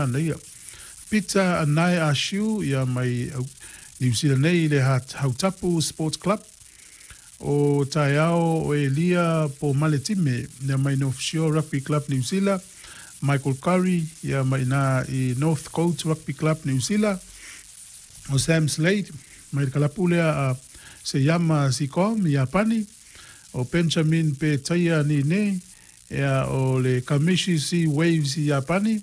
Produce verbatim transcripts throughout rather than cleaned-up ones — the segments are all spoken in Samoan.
manaia. Peter Anae Ashiu, ia mai Niu Sila nei i le Hautapu Sports Club. O taeao o Elia Pomaletime, ia mai North Shore Rugby Club Niu Sila. Michael Curry, ia mai ina i North Coast Rugby Club Niu Sila. O Sam Slade mai le kalapu lea a Seyama Sicom i Iapani. O Benjamin Petaia Nine, ia o le Kamishi Sea Waves i Iapani.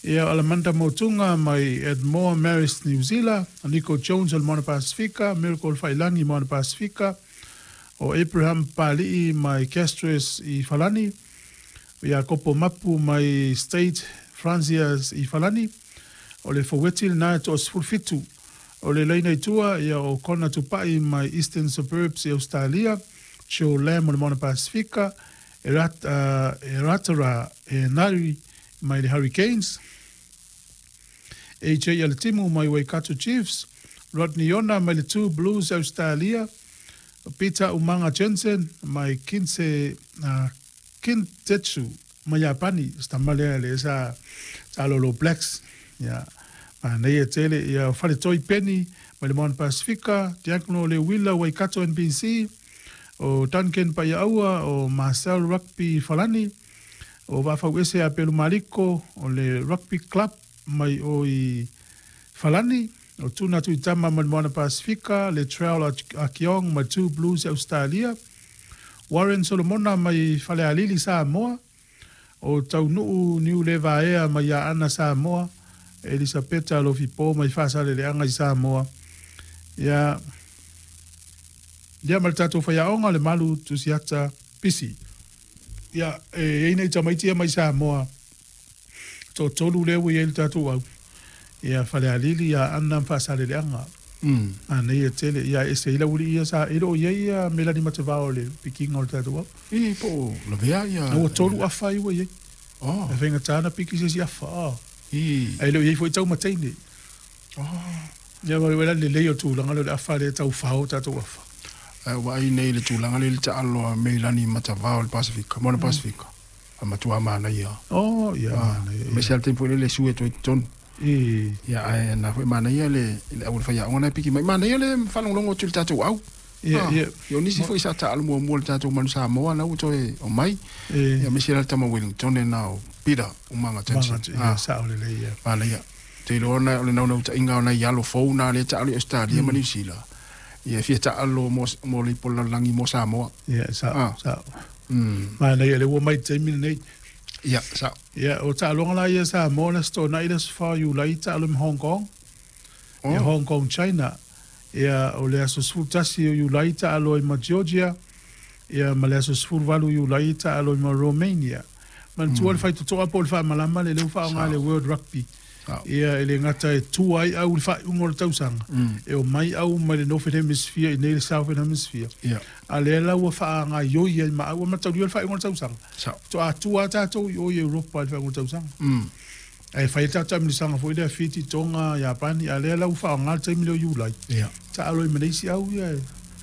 Ia o Alamanda Motunga mai Edmore Marist Niu Sila. O Nico Jones o le Moana Pasifika, Miracle Failangi Moana Pasifika. O Abraham Pali'i mai Castres i Falani. O Iakopo Mapu mai State Francias i Falani. O le foueti lena e toasefulu fitu. O le laina i tua, ia o Kona Tupai mai Eastern Suburbs i Ausetalia, Joe Lam o le Moana Pasifika, Eratara Enari mai le Hurricanes, A J Aletimu mai Waikato Chiefs, Rodney Ona mai le Two Blues Ausetalia, Peter Umanga Jensen mai Kinse, Kintetsu mai Iapani, se tama lea lea sa sa alo Blacks, ia manaia tele, ia Faletoi Penny mai le Moana Pasifika, Diakono Leuila Waikato N B C, o Duncan Paiaua o Marcel Rugby Falani, o Vafauese Apelu Mariko o le Rugby Club mai o i Falani, o Tuna Tuitama mai le Moana Pasifika, le Trail Akiong mai Two Blues Australia, Warren Solomona mai Falealili Samoa, o Taunuu Niu Levaea mai Aana Samoa, Elisapeta Lofipo mai Fasaleleaga i Samoa. Ia ia ma le tatou faiaoga le Malu Tusiata Pisi. Ia e i ai nei tamaiti ia mai Samoa toatolu lea ua i ai le tatou au. Ia Falealili ia Aana ma Faasaleleaga. Manaia tele ia e ese ai laualii ia sa e le o i ai ia Melani Matavao o le pikiga o le tatou au. I po o lavea ia. Ua tolu afa ai ua i ai. Oh. E faigata ona piki se isi afa. Oh. I. Ae le o i ai foi taumataine. Oh. Ia ma le lelei o tulaga lea o le afa lea e taufao tatou afa. Ae ua vaai nei i le tulaga lea i le taalo a Meilani Matavao o le Pasifika, Moana Pasifika, a matua manaia. Oh, ia manaia. Aemaise lava le taimi foi lea le sue atu ai i totonu. I. Ia, ae na foi manaia le le au o le faiaoga na e piki mai. Manaia le faalogologo atu i le tatou au. Ia, ia. Ia, o nisi foi sa taalo muamua i le tatou Manu Samoa na ua toe omai. E. Ia, aemaise la le tama Wellington na o Peter Umaga Jensen. Umaga, ia, sao lelei, ia. Manaia. Te iloa na o le naunautaiga o nai alo fou na lea taalo i Australia ma Niu Sila. Ia, e fia taalo mo, mo le ipu o le lalolagi mo Samoa. Ia, sao, Ah. sao. Mm. Manaia, lea ua mai i le taimi lenei. Ia, sao. Ia, o taaloga la ia Samoa le Aso Toonai le aso fa o Iulai taalo ma Hong Kong. Oh. Ia, Hong Kong, China. Ia, o le aso sefulu tasi o Iulai taalo ai ma Georgia. Ia, ma le aso sefulu valu o Iulai taalo ai ma Romania. Manatua le faitotoa po o le faamalama le lea ua faaaoga e le World Rugby. Sao. Ia, e le gata e tua ai au i le faaiuga o le tausaga. E omai au mai le Northern Hemisphere i nei le Southern Hemisphere. Ia. A lea la ua faagaioi ai ma au, e mataulia le faaiuga o le tausaga. Sao. Faatoa tua lava tatou i o i Europa i le faaiuga o le tausaga. Mm. Ae fai ai le tatou taamilosaga foi lea Fiti, Tonga, Iapani, a lea la ua faaaoga le taimi lea o Iulai. Ia. Taalo ai ma le isi au ia e.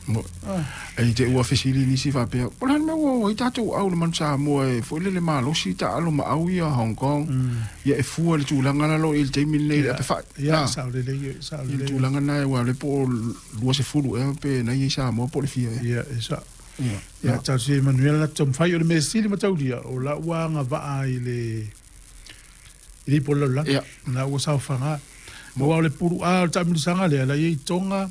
Mo. Ah. E te ua fesili nisi faapea, po o le a le mea ua o ai tatou au le Manu Samoa e foi lele malosi taalo ma au ia Hong Kong. Ia e fua i le tulaga la lo i le taimi lenei i le apefai. Ia, Ah. sao lelei, ia, sao I le lelei. tulaga na aua o lea po o luasefulu ea pe na ia i Samoa po o le fia ea. Ia, e sao. Ia. Ia, talosia ia manuia le latou taumafai. O le mea sili ma taulia, o lau ua agavaa i le i le ipu o le lalolagi. Ia. Na ua saofaga. Aua o le pulu A o le taamilosaga lea, la i ai Tonga,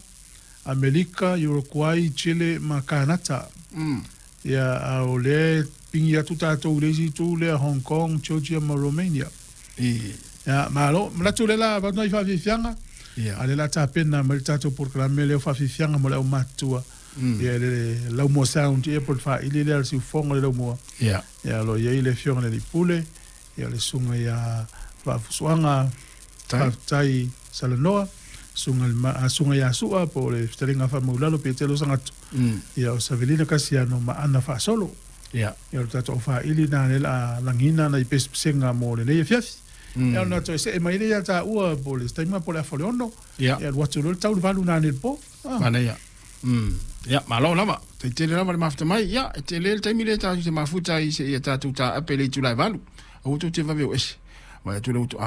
Amerika, Uruguay, Chile ma Kanata. Mm. Ia, a o lea e pigi atu tatou i le isi itu lea, Hong Kong, Georgia ma Romania. I. Ia, malo, manatu o lea la avatu nai faafiafiaga, Ia. a o lea la tapena mai le tatou polokalame lea o faafiafiaga mo le aumatutua. Mm. Ia, le Laumua Sound ia po o le faaili lea o le siufofoga o le Laumua. Ia. Ia, o lo o i ai le Afioga i le Alii Pule, ia o le Susuga ia Vaafusuaga Tai. Faafetai Salanoa, Susuga i le Ma- a Susuga ia Sua po o le Fetalaiga Faamaulalo Petelo Sagatu. Mm. Ia o Savelina Kasiano ma Ana Faasolo. Ia. Ia o le tatou aufaili lena lea o le a lagiina nai pesepesega mo lenei afiafi. Mm. Ia ona toe see mai lea ia taua po o le taimi po o le afa o le ono. Ia. Ia alu atu loa le tau i le valu nanei i le po. Ah. Manaia. Mm. Ia, malo lava. Tai tele lava le mafuta mai. Ia, e tele le taimi lea tatou te mafuta ai seia tatou taape i le itula e valu. Aua tou te vave o ese. Vaai atu le utu a